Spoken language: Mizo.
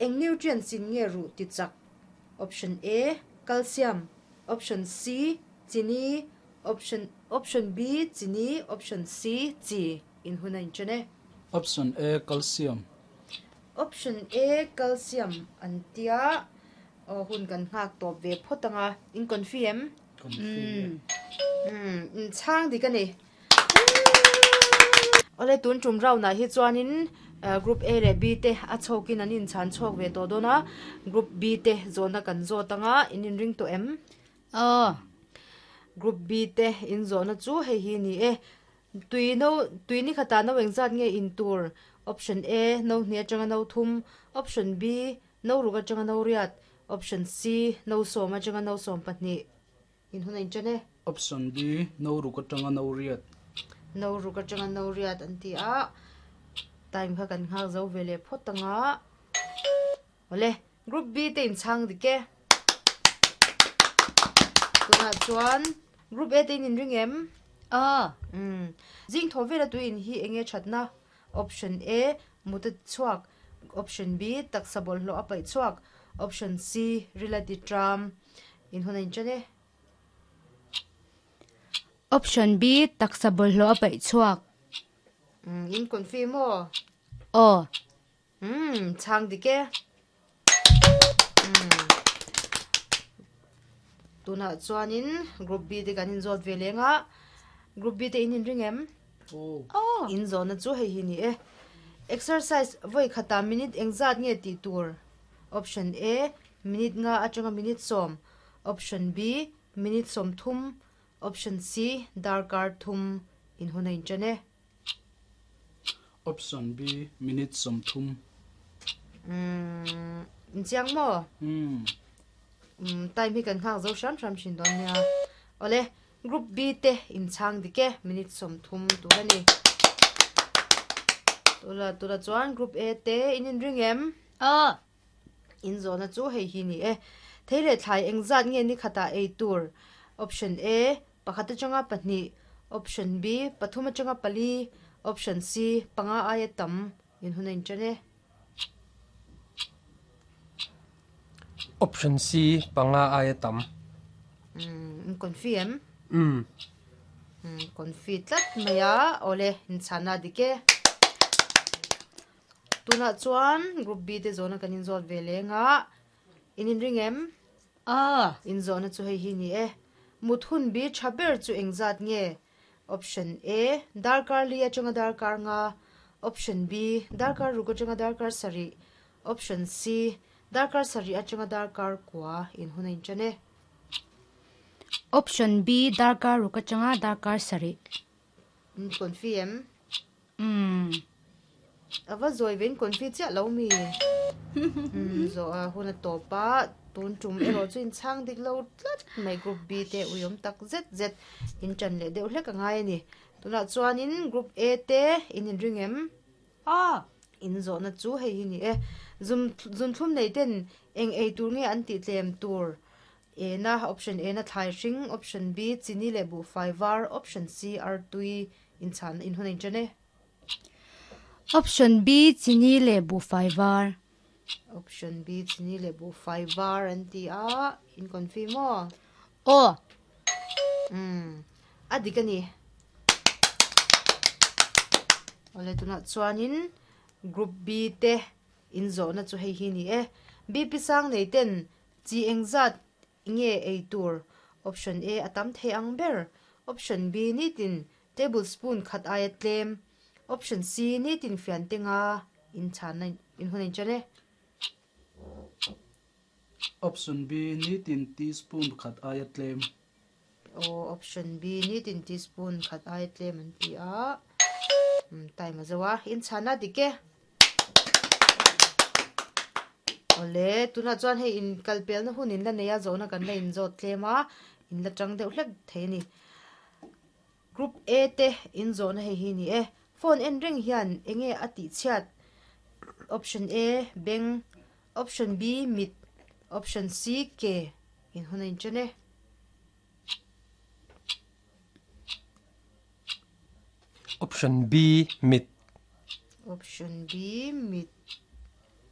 Eng nutrients in nge ruh ti chak? Option A, Calcium Option C, Chini Option Option B, Chini Option C, Chi In hun a inchen e. Option A, Calcium. Option A, Calcium an tia aw hun kan nghak tawp ve phawt ang a, in confi em? Confi e. Umm in chhang dik a ni. Awle tun tum round ah hi chuanin group A leh B te a chhawkin an inchhan chhawk ve tawh dawn a, group B te zawhna kan zawt ang a, in inring tawh em? Aw. Group B te in zawhna chu hei hi ni e, tui no tui ni khatah no engzat nge in tur? Option A, no hnih atanga no thum, Option B, no ruk atanga no riat, Option C, no sawm atanga no 12. In hun a inṭan e. Option B, No ruk aṭanga no riat. No ruk aṭanga no riat an ti a, time kha kan nghak zo ve leh phawt ang a. Awle, Group B te inchhang dik e. Tunah chuan Group A te in inring em? Aw. Umm. Zing thaw vela tui in hi enge ṭhatna? Option A, Mut a chhuak. Option B, Taksa bawlhhlawh a paih chhuak. Option C, Ril a ti ṭam. In hun a inṭan e. Option B, Taksa bawlhhlawh a paih chhuak. Umm, in confi maw? Aw. Umm, chhang dik e. Umm. Tunah chuanin Group B te kan inzawt ve leng a. Group B te in inring em? Aw. Aw. Inzawhna chu hei hi ni e. Exercise vawi khatah minute engzat nge tih tur? Option A, Minute nga atanga minute 10. Option B, Minute 30. Option C, Darkar thum. In hun a inṭan e. Option B, Minute 30. Umm, inchiang maw? Umm. Umm, time hi kan nghak zo hram hram thin dawn nia. Awle, Group B te inchhang dik e, minute 30 tur a ni. Tula, tula chuan Group A te in inring em? Aw. In zawhna chu hei hi ni e. Thei leh thlai engzat nge ni khatah ei tur? Option A, pakhat atanga pahnih, Option B, pathum atanga pali, Option C, panga aia tam in hun a inṭan e. Option C, panga aia tam. Umm, in confi em? Umm. Umm, confi tlat mai a, awle, inchhana dik e. Tunah chuan Group B te zawhna kan inzawt ve leng a, in inring em? Aw. Inzawhna chu hei hi ni e. Mut hun bi tha ber chu engzat nge? Option A, darkar li atanga darkar nga. Option B, darkar ruk atanga darkar sarih. Option C, darkar sarih atanga darkar kua. In hun a inṭan e. Option B, darkar ruk atanga darkar sarih. In confi em? Umm. A va zawi vein confi chiah lo mi. Umm zawh a hun a tawp a, tun tum erawh chu inchhang dik lo tlat mai group B te uiawm tak zet zet in tan leh deuh hlek a ngai a ni. Tunah chuanin group A te in inring em? Aw. In zawhna chu hei hi ni e. Zum zunthlum nei ten eng ei tur nge an tih tlem tur? A na option A na thlai hring, option B chini leh buhfai var, option C artui inchhan inhun a inṭan e. Option B chini leh buhfai var. Option B chini leh buhfai var an ti a, in confi maw? Aw. Umm, a dik a ni. Awle tunah chuanin group B te inzawhna chu hei hi ni e. BP sang nei ten Chi engzat nge ei tur? Option A a tam thei ang ber. Option B nitin tablespoon khat aia tlem. Option C nitin fian te nga in chhanna in hun a inṭan e. Option B nitin teaspoon khat aia tlem. Aw option B nitin teaspoon khat aia tlem an ti a. Time a zo a, in chhanna dik e. Awle, tunah chuan hei in kal pelna hun in la nei a, zawhna kan la inzawt tlem a, in la tang deuh hlek thei a ni. Group A te in zawhna hei hi ni e. Phone en reng hian enge a tih chhiat? Option A, beng, Option B, mit, Option C, ke in hun a inṭan e. Option B, mit. Option B, mit.